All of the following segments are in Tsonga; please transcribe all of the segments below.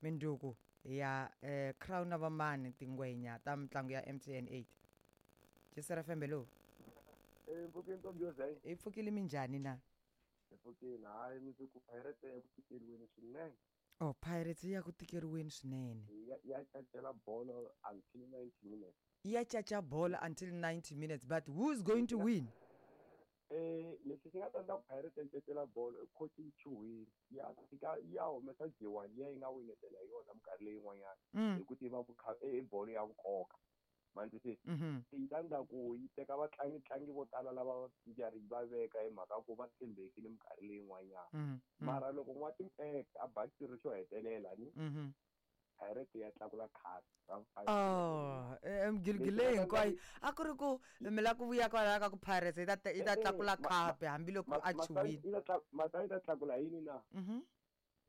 Minduku hi ya crown na vamani tingwenya ta mitlangu ya MTN 8. Jisera fembe lowu. Eh, mpfukeni ntombi yo zay. Hi pfukile minjhani na? Hi pfukile, hayi mundzuku Pirates ya ku tikeriweni swinene. Oh, Pirates yi ya ku tikeriweni swinene. Ya ya cacela bolo until 90 minutes. Ya caca bolo until 90 minutes, but who's going to win? Eh, lexi xi nga ta endla ku Pirates yi cacela bolo i coach yi chuhile. Ya fika ya humesa G1 liya yi nga winetela hi yona minkarhi leyin'wanyana. Hi ku tiva ku i bolo ya nkoka. Ma ni twisisa? Yi ta endla ku yi teka vatlangi-tlangi vo tala lava yi va veka hi mhaka ku va tshembekile minkarhi leyin'wanyana. Mara loko n'watimpeke a ba xirho xo hetelela ni Pirates ya tlakula khapu ra vu-five. Oh, migiligi leyi hinkwayo a ku ri ku mi lava ku vuya kwalaya ka ku Pirates yi ta yi ta tlakula khapu hambiloko a chuhile. Mhaka yi ta tlakula yini na?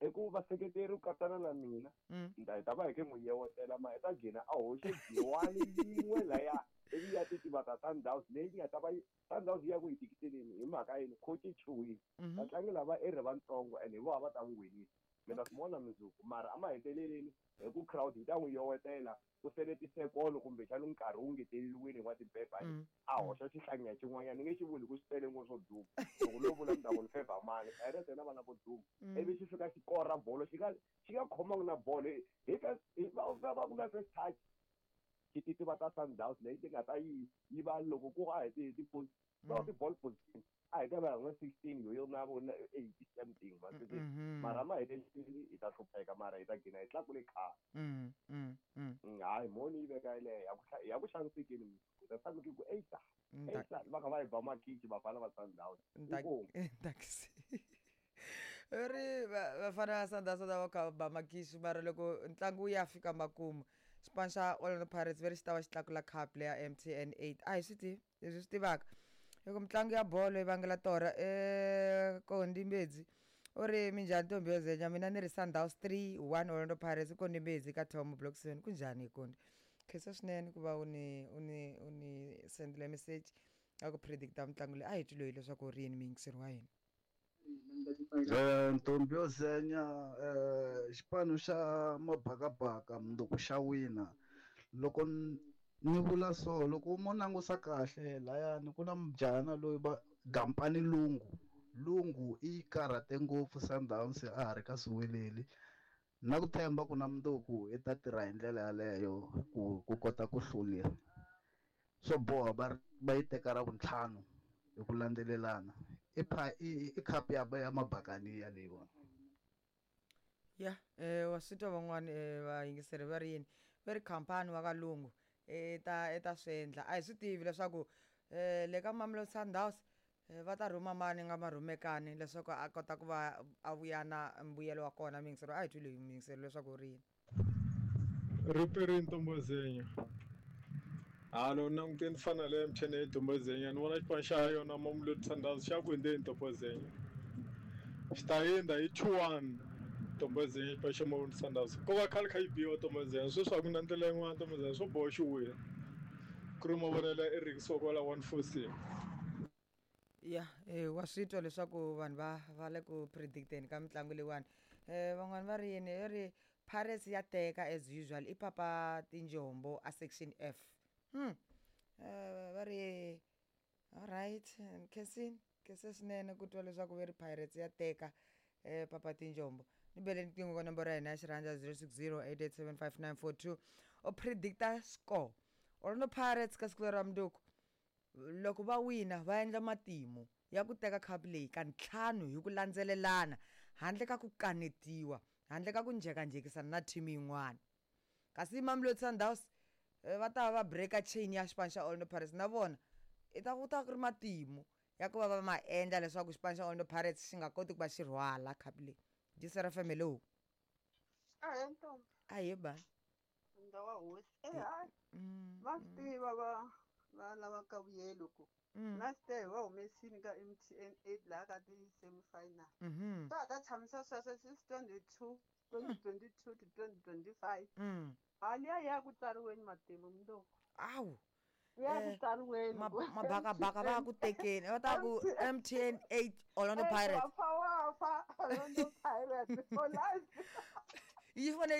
I ku vaseketeri ku katsana na mina ni ta hi ta va hi khe n'wi yewetela ma hi ta gcina a hoxe G1 yin'we laya ivi ya titiva ta Sundowns leyi nga ta va yi Sundowns yi ya ku yi tikiseleni hi mhaka yini coach yi chuhile vatlangi lava i ri vatsongo and hi vona va ta n'wi winisa mi ta swi vona mundzuku mara emaheteleleni hi ku crowd yi ta n'wi yowetela ku sele tisekolo kumbexana nkarhi wu ngeteleriwile hi n'watimpempe a hoxa xihlangiya xin'wanyana ni nge xi vuli ku xi tele ngopfu swo duma loko no vula ni ta ku ni favor mani Pirates na vana vo duma ivi xi fika xi kora bolo xi nga xi nga khomangi na bolo hi hi va va ku na first touch xi titiva ta Sundowns leyi ti nga ta yi yi va loko ku a hi ti ti va ti ball position a hi ta va hi nga 16 yo yo na vo na 80 something ma swi tiva mara ma heteleleni hi ta hlupheka mara hi ta gcina hi tlakule khapu hayi mhoni yi veka yeleyo ya ku ya ku xanisekeni hi ta tshama ku eita eita va kha va hi ba makichi vafana va Sundowns inkomu ri vafana va Sundowns va kha va ba makichi mara loko ntlangu wu ya fika makumu xipano xa Orlando Pirates ve ri xi ta va xi tlakula cup leya MTN 8 a hi swi tivi leswi swi tivaka i ku mitlangu ya bolo yi vangela torha Kondi Mbedzi u ri minjhani ntombi yo zenya mina ni ri Sundowns 3 1 Orlando Pirates Kondi Mbedzi ka Tom Block 7 kunjhani Kondi khensa swinene ku va u ni u ni u ni sendele message ya ku predicta mitlangu leyi a hi twi loyi leswaku u ri yini muyingiseri wa hina. Ntombi yo zenya xipano xa mabakabaka mundzuku xa wina loko ni vula so loko mo langusa kahle layani ku na mujahana loyi va Gampani Lungu Lungu i yi karhate ngopfu Sundowns a ha ri ka Siweleli na ku tshemba ku na mundzuku i ta tirha hi ndlela yaleyo ku ku kota ku hlula swo boha va va yi teka ra vuntlhanu hi ku landzelelana i pha i i khapu ya ya mabakaniya leyiwani. Ya wa swi twa van'wani vayingiseri va ri yini va ri khampani wa valungu i ta i ta swi endla a hi swi tivi leswaku le ka Mamelodi Sundowns va ta rhuma mani nga marhumekani leswaku a kota ku va a vuya na mbuyelo wa kona muyingiseri a hi twi loyi muyingiseri leswaku u ri yini. Riperini Ntombozenya halo ni langutile ni fana le MTN ya Ntombozenya ni vona xipano xa yona Mamelodi Sundowns xa ku hundzeni Ntombozenya xi ta hundza hi 2-1 Ntombozenya xipano xa Mamelodi Sundowns ko va khale kha yi biwa Ntombozenya sweswi a ku na ndlela yin'wana Ntombozenya swo boha xi wina ku ri mavonelo ya Eric Sokola 146. Ya wa swi twa leswaku vanhu va va le ku predicteni ka mitlangu leyiwani van'wani va ri yini va ri Pirates ya teka as usual i papa tinjombo a section F va ri alright khensini khense swinene ku twa leswaku ve ri Pirates ya teka papa tinjombo ni bele riqingho ka nomboro ya hina ya xirhandza 060 8875942 u predicta score Orlando Pirates ka siku leri ra mundzuku Loko va wina, va endla matimu ya ku teka khapu leyi ka ntlhanu hi ku landzelelana handle ka ku kanetiwa, handle ka ku njhekanjhekisana na thimi yin'wana. Kasi Mamelodi Sundowns va ta va va breaker chain ya xipano xa Orlando Pirates na vona i ta ku ta ku ri matimu ya ku va va ma endla leswaku xipano xa Orlando Pirates xi nga koti ku va xi rhwala khapu leyi. Dyisa FM, hello. Ahee ntombi. Ahee bani. Nda wa hosi e hayi va swi tiva va va lava ka vuyelo ku last year hi va humesini ka MTN 8 laha ka ti-semi final swa ha ta tshamisa sweswo since 22 2022 to 2025 ha liya ya ku tsariweni matimu mundzuku Awu. Ya ku tsariweni Mabakabaka va ku tekeni va ta ku MTN 8 Orlando Pirates wafa wafa Orlando Pirates for life yi fanele.